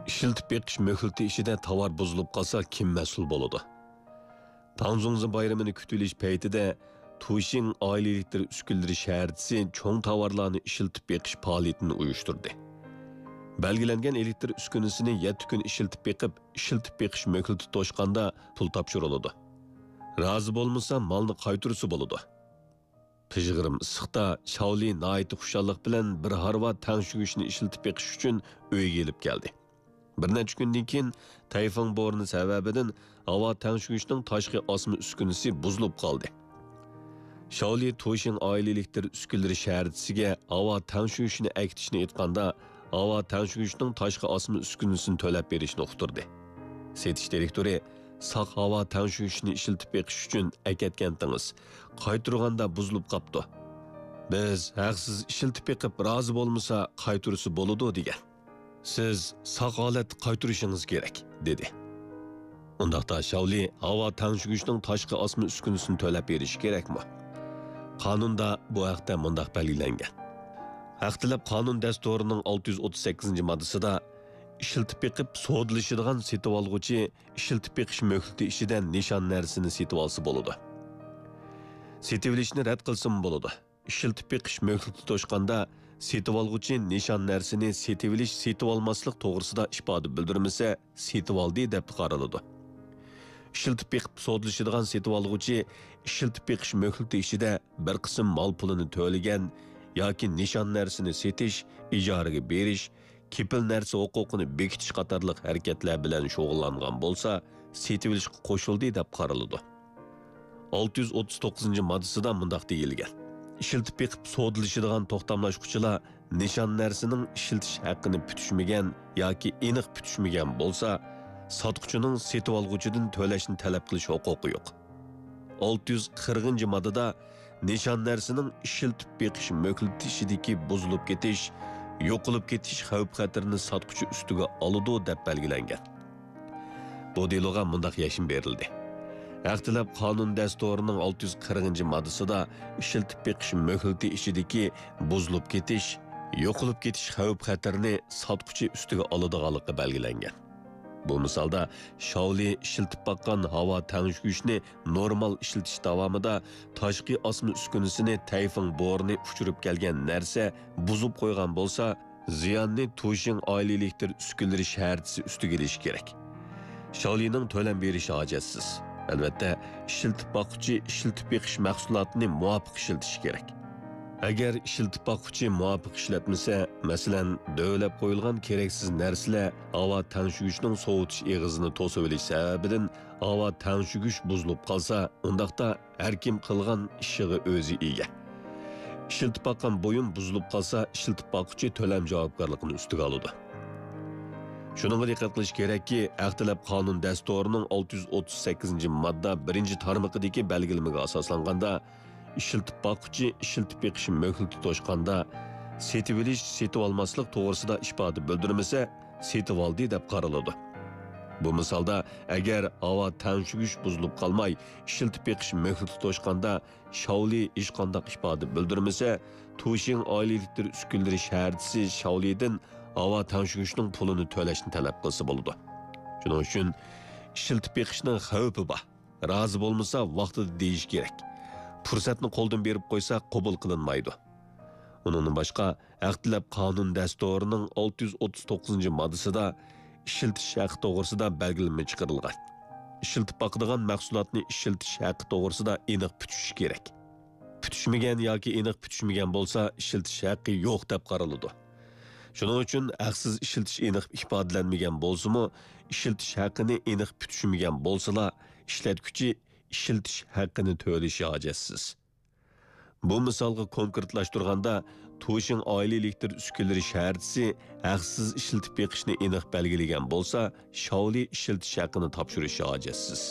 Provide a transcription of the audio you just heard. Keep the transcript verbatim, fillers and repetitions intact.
ئىشلىتىپ بېقىش مۆھلىتى ئىچىدە تاۋار بۇزۇلۇپ قالسا، كىم مەسئۇل بولىدۇ؟ تاڭزۇڭزى بايرىمىنى كۈتۈۋېلىش پەيتىدە تۇشىڭ ئائىلە ئېلېكتر ئۈسكۈنىلىرى شەھەرچىسى چوڭ تاۋارلارنى ئىشلىتىپ بېقىش پائالىيىتىنى ئۇيۇشتۇردى. بەلگىلەنگەن ئېلېكتر ئۈسكۈنىسىنى يەتتە كۈن ئىشلىتىپ بېقىپ، ئىشلىتىپ بېقىش مۆھلىتى توشقاندا پۇل تاپشۇرۇلىدۇ. رازى بولمىسا، مالنى قايتۇرسا بولىدۇ. پىژغىرىم ئىسسىقتا شاۋلى ناھايىتى خۇشاللىق بىلەن بىر ھارۋا تەڭشىگۈچنى ئىشلىتىپ بېقىش ئۈچۈن ئۆيگە ئېلىپ كەلدى. بىر نەچچە كۈندىن كېيىن تەيفۇڭ بورىنى سەۋەبىدىن ھاۋا تەڭشىگۈچنىڭ تاشقى ئاسما ئۈسكۈنىسى بۇزۇلۇپ قالدى. شاۋلى تۇشىڭ ئائىلە ئېلېكتر ئۈسكۈنىلىرى شەھەرچىسىگە ھاۋا تەڭشىگۈچنى ئەكېتىشنى ئېيتقاندا، ھاۋا تەڭشىگۈچنىڭ تاشقى ئاسما ئۈسكۈنىسىنى تۆلەپ بېرىشنى ئۇقتۇردى. سېتىش دىرېكتورى ساق ھاۋا تەڭشىگۈچنى ئىشلىتىپ بېقىش ئۈچۈن ئەكەتكەنتىڭىز، قايتۇرغاندا بۇزۇلۇپ قاپتۇ. بىز ھەقسىز ئىشلىتىپ بېقىپ، رازى بولمىسا قايتۇرسا بولىدۇ دېگەن. سىز ساق ھالەتتە قايتۇرۇشىڭىز كېرەك، دېدى. ئۇنداقتا شاۋلى ھاۋا تەڭشىگۈچنىڭ تاشقى ئاسما ئۈسكۈنىسىنى تۆلەپ بېرىشى كېرەكمۇ؟ قانۇندا بۇ ھەقتە مۇنداق بەلگىلەنگەن. ھەق تەلەپ قانۇن دەستۇرىنىڭ ئالتە يۈز ئوتتۇز سەككىزىنچى ماددىسىدا ئىشلىتىپ بېقىپ سودىلىشىدىغان سېتىۋالغۇچى ئىشلىتىپ بېقىش مۆھلىتى ئىچىدە نىشان نەرسىنى سېتىۋالسا بولىدۇ. سېتىۋېلىشنى رەت قىلسىمۇ بولىدۇ. ئىشلىتىپ بېقىش مۆھلىتى توشقاندا، سېتىۋالغۇچى نىشان نەرسىنى سېتىۋېلىش، سېتىۋالماسلىق توغرىسىدا ئىپادە بىلدۈرمىسە، سېتىۋالدى دەپ قارىلىدۇ. ئىشلىتىپ بېقىپ سودىلىشىدىغان سېتىۋالغۇچى ئىشلىتىپ بېقىش مۆھلىتى ئىچىدە بىر قىسىم مال پۇلىنى تۆلىگەن ياكى نىشان نەرسىنى سېتىش، ئىجارىگە بېرىش، كېپىل نەرسە ھوقۇقىنى بېكىتىش قاتارلىق ھەرىكەتلەر بىلەن شۇغۇللانغان بولسا، سېتىۋېلىشقا قوشۇلدى دەپ قارىلىدۇ. ئالتە يۈز ئوتتۇز توققۇزىنچى ماددىسىدا مۇنداق دېيىلگەن: ئىشلىتىپ بېقىپ سودىلىشىدىغان توختاملاشقۇچىلار نىشان نەرسىنىڭ ئىشلىتىش ھەققىنى پۈتۈشمىگەن ياكى ئېنىق پۈتۈشمىگەن بولسا، ساتقۇچىنىڭ سېتىۋالغۇچىدىن تۆلەشنى تەلەپ قىلىش ھوقۇقى يوق. ئالتە يۈز قىرىقىنچى ماددىدا نىشان نەرسىنىڭ ئىشلىتىپ بېقىش مۆھلىتى ئىچىدىكى بۇزۇلۇپ كېتىش، يوقىلىپ كېتىش خەۋپ-خەتىرىنى ساتقۇچى ئۈستىگە ئالىدۇ دەپ بەلگىلەنگەن. بۇ دېلوغا مۇنداق يەشمە بېرىلدى: ھەق تەلەپ قانۇن دەستۇرىنىڭ ئالتە يۈز قىرىقىنچى ماددىسىدا ئىشلىتىپ بېقىش مۆھلىتى ئىچىدىكى بۇزۇلۇپ كېتىش، يوقىلىپ كېتىش خەۋپ-خەتىرىنى ساتقۇچى ئۈستىگە ئالىدىغانلىقى بەلگىلەنگەن. بۇ مىسالدا شاۋلى ئىشلىتىپ باققان ھاۋا تەڭشىگۈچنى نورمال ئىشلىتىش داۋامىدا تاشقى ئاسما ئۈسكۈنىسىنى تەيفېڭ بورىنى ئۇچۇرۇپ كەلگەن نەرسە بۇزۇپ قويغان بولسا، زىياننى تۇشىڭ ئائىلە ئېلېكتر ئۈسكۈنىلىرى شەھەرچىسى ئۈستىگە ئېلىشى كېرەك. شاۋلىنىڭ تۆلەم بېرىشى ھاجەتسىز. ئەلۋەتتە، ئىشلىتىپ باققۇچى ئىشلىتىپ بېقىش مەھسۇلاتىنى مۇۋاپىق ئىشلىتىشى كېرەك. ئەگەر ئىشلىتىپ باققۇچى مۇۋاپىق ئىشلەتمىسە، مەسىلەن، دۆۋىلەپ قويۇلغان كېرەكسىز نەرسىلەر ھاۋا تەڭشىگۈچنىڭ سوۋۇتۇش ئېغىزىنى توسۇۋېلىش سەۋەبىدىن ھاۋا تەڭشىگۈچ بۇزۇلۇپ قالسا، ئۇنداقتا ھەركىم قىلغان ئىشىغا ئۆزى ئىگە. ئىشلىتىپ باققان بۇيۇم بۇزۇلۇپ قالسا، ئىشلىتىپ باققۇچى تۆلەم جاۋابكارلىقىنى ئۈستىگە ئالىدۇ. شۇنىڭغا دىققەت قىلىش كېرەككى، ھەق تەلەپ قانۇن دەستۇرىنىڭ ئالتە يۈز ئوتتۇز سەككىزىنچى ماددا بىرىنچى تارمىقىدىكى بەلگىلىمىگە ئاساسلانغاندا، ئىشلىتىپ باققۇچى ئىشلىتىپ بېقىش مۆھلىتى توشقاندا، سېتىۋېلىش، سېتىۋالماسلىق توغرىسىدا ئىپادە بىلدۈرمىسە، سېتىۋالدى دەپ قارىلىدۇ. بۇ مىسالدا، ئەگەر ھاۋا تەڭشىگۈچ بۇزۇلۇپ قالماي، ئىشلىتىپ بېقىش مۆھلىتى توشقاندا، شاۋلى ھېچقانداق ئىپادە بىلدۈرمىسە، تۇشىڭ ئائىلە ئېلېكتر ئۈسكۈنىلىرى شەھەرچىسى شاۋلىدىن ھاۋا تەڭشىگۈچنىڭ پۇلىنى تۆلەشنى تەلەپ قىلسا بولىدۇ. شۇنىڭ ئۈچۈن ئىشلىتىپ بېقىشنىڭ خەۋپى بار. رازى بولمىسا، ۋاقتىدا دېيىش كېرەك. پۇرسەتنى قولدىن بېرىپ قويسا، قوبۇل قىلىنمايدۇ. ئۇنىڭدىن باشقا، ھەق تەلەپ قانۇن دەستۇرىنىڭ ئالتە يۈز ئوتتۇز توققۇزىنچى ماددىسىدا ئىشلىتىش ھەققى توغرىسىدا بەلگىلىمە چىقىرىلغان. ئىشلىتىپ باقىدىغان مەھسۇلاتنى ئىشلىتىش ھەققى توغرىسىدا ئېنىق پۈتۈشۈش كېرەك. پۈتۈشمىگەن ياكى ئېنىق پۈتۈشمىگەن بولسا، ئىشلىتىش ھەققى يوق دەپ قارىلىدۇ. شۇنىڭ ئۈچۈن ھەقسىز ئىشلىتىش ئېنىق ئىپادىلەنمىگەن بولسىمۇ، ئىشلىتىش ھەققىنى ئېنىق پۈتۈشمىگەن بولسىلا، ئىشلەتكۈچى ئىشلىتىش ھەققىنى تۆلىشى ھاجەتسىز. بۇ مىسالغا كونكرېتلاشتۇرغاندا، تۇشىڭ ئائىلە ئېلېكتر ئۈسكۈنىلىرى شەھەرچىسى ھەقسىز ئىشلىتىپ بېقىشنى ئېنىق بەلگىلىگەن بولسا، شاۋلى ئىشلىتىش ھەققىنى تاپشۇرۇشى ھاجەتسىز.